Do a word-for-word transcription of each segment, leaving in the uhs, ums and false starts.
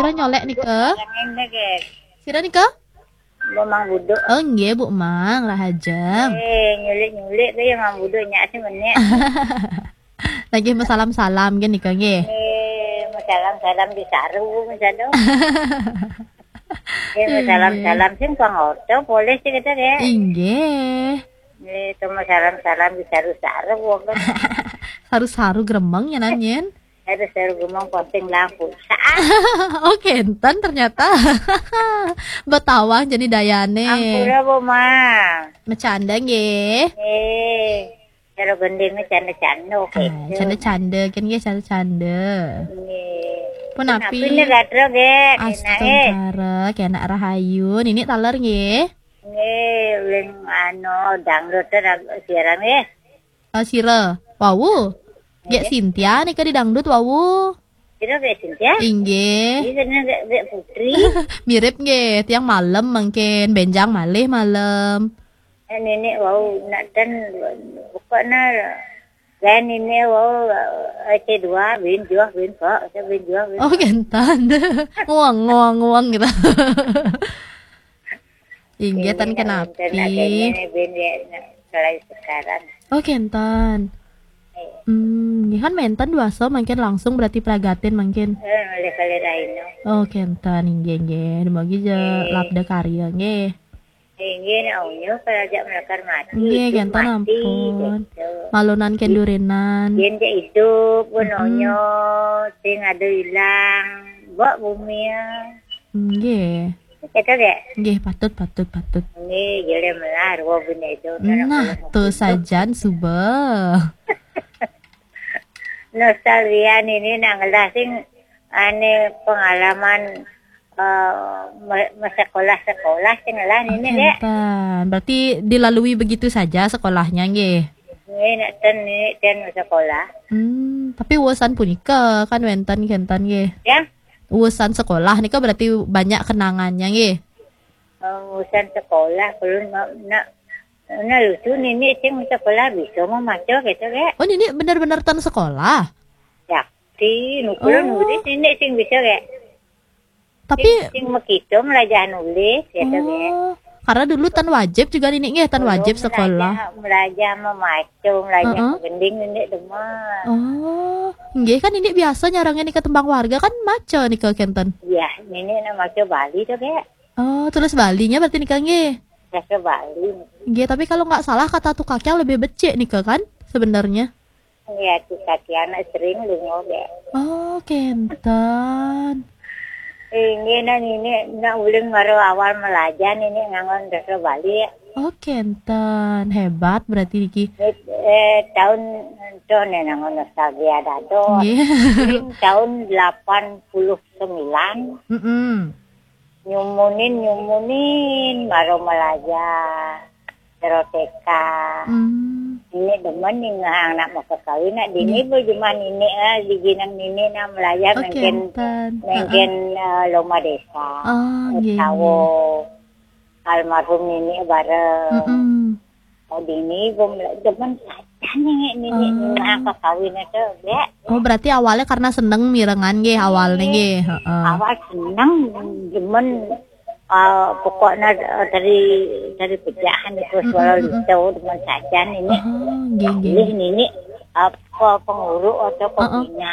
Kita nyolek nika. Yang ini ke. Sira nika? Bumang buduk. Oh, nggih, Bu Mang, rahajem. Eh, nyulik-nyulik ke yang mang buduk nyak sih menek. Lagi masalam-salam kan nika nggih. Eh, masalam-salam di saru misalnya. Eh, masalam-salam sih pang oto boleh sih kita ya. Inggih. Eh, itu masalam-salam di saru-saru wong kan. Saru-saru gremeng ya nan yen. Ada seru gumong posting lampu. Saat Oh, kenten ternyata. Betawang jadi dayane. Ampura, Bu, Ma. Macanda nggih. Eh, cara gending ni canda-canda, oke. Ah, canda-canda kan nggih, canda-canda. Nggih. Pun api. Ni gatra ge, enak eh. Astagfirullah, kena rahayu. Nini taler nggih. Nggih, uling anu dangdut tu siaran nggih. Ah, sira. Wau. Gek Sintia nika di dangdut wau. Sira gek Sintia? Inggih. Ini kena gek, gek Putri. Mirip nggih, tiang malam mungkin, benjang malih malam. Eh, nenek wau nak ten pokoknya dan ini wau eh, C dua bin juah bin kok, bin juah bin. Oh, gentan. Nguang, nguang, nguang gitu. Inggih, ten kenapi. Ini bin ya, selain sekarang. Oh, kenten. Eh, Hmm, nggih kan menten dua so mungkin langsung berarti pragatin mungkin. Eh, oleh kali Raino. Oh, kenten, inggih, inggih. Demogi je Eh. Labda karya, nggih. Inggih, nak unyu kalau ajak melakar mati. Nggih, hidup kenten mati, ampun. Gitu. Malunan kendurinan. Yen je hidup, pun Mm-mm. Unyu, sing ada hilang. Bok bumi ya. Nggih. Kata gak? Nggih, patut, patut, patut. Nggih, jadi melar, wah benda itu. Nah, tu sajan suba. Nostalgia nini nak ngelah sing ane pengalaman eh, me- me- sekolah-sekolah sing ngelah nini dek. Kenten. Berarti dilalui begitu saja sekolahnya nggih. Ini nak ten ini ten sekolah. Hmm, tapi urusan punika kan wenten kenten nggih. Ya. Urusan sekolah nika berarti banyak kenangannya nggih. Eh, urusan sekolah kalau nak nak nak lucu nini sing sekolah bisa memaca gitu gak? Oh, nini benar-benar ten sekolah. Yakti, nukulun Oh. Nulis nini sing bisa gak? Tapi Sing, sing mekito melajah nulis gitu gak? Oh, karena dulu ten wajib juga nini nggih, ten wajib sekolah. Melajah, melajah memaca, melajah Heeh. Gending nini demen. Oh, nggih kan nini biasa nyarangin nika tembang warga kan maca nika kenten. Iya, nini nak maca Bali tu gak? Oh, tulis Balinya berarti nika nggih. Bahasa Bali. Nggih, tapi kalau nggak salah kata tukaknya lebih becik nika kan sebenarnya. Iya, tukaknya anak sering lungo deh. Oh, kenten. Ini nak ini nak uling baru awal melajah ini nganggon bahasa Bali. Oh, kenten. Hebat berarti niki. Eh, eh, tahun tu ni nganggon nostalgia dado. Nggih. Uling tahun delapan puluh sembilan. Mm-mm. Nyumunin, nyumunin, baru melajah. Teroteka. Hmm. Ini demen nih ngahang nak mau kawin nak dini Nggih. Berjumah nini ah di ginang nini nak melajah Oh, mungkin kenten. Mungkin eh, lomba desa. Oh, nggih, Tawo. Nggih. Almarhum nini bareng. Mm-mm. Oh, dini belum demen saja nih nini Oh. Ngahang ke kawin itu ya. Oh, berarti awalnya karena seneng mirengan nggih awalnya nggih. Heeh. Awal seneng demen eh, pokoknya eh, dari dari pejahan itu suara listo dengan sajan ini Oh, nggih, nggih. Pilih nini apa pengurus atau Heeh. Pembina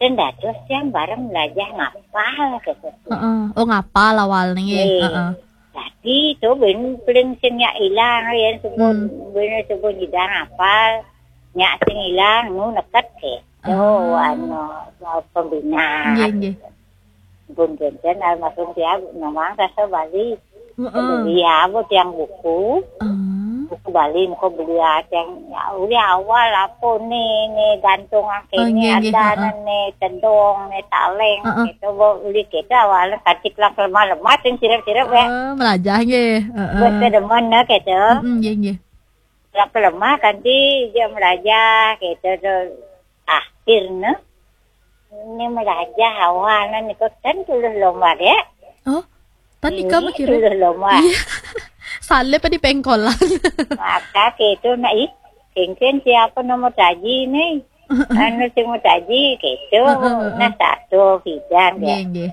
dan dados yang bareng belajar ngapal gitu. Heeh. Oh, ngapal awal nggih. Nggih. Heeh. Jadi itu ben paling sing nyak ilang ya sebut Hmm. Ben sebut nyidang ngapal nyak sing ilang nu neket ke. Oh, Ah. Anu pembina. Nggih, nggih. Pun Jenten almarhum dia memang rasa Bali. Heeh. Beli apa tiang buku? Ah. Buku Bali muka beli tiang ya udah awal apa ni ni gantung Oh, kene nggih, nggih, ada heeh. Ni tedong ni taleng Heeh. Gitu bo beli kita awal katik lah lemah-lemah sing sirap-sirap ya. Oh, melajah nggih. Heeh. Buat ke demen nah gitu. Mm-mm, nggih, nggih. Lah lemah kanti dia melajah gitu tu. Akhirnya ni melajah awal ni kok kan tulus lomba dia. Oh, tan ika Ini makira. Tulus lomba. Iya. Salib di pengkolan. Maka gitu nak ih, kengken siapa nomor taji ni? Anu sing mau taji gitu. Heeh, heeh. Nah satu bidang Nggih, ya. Nggih.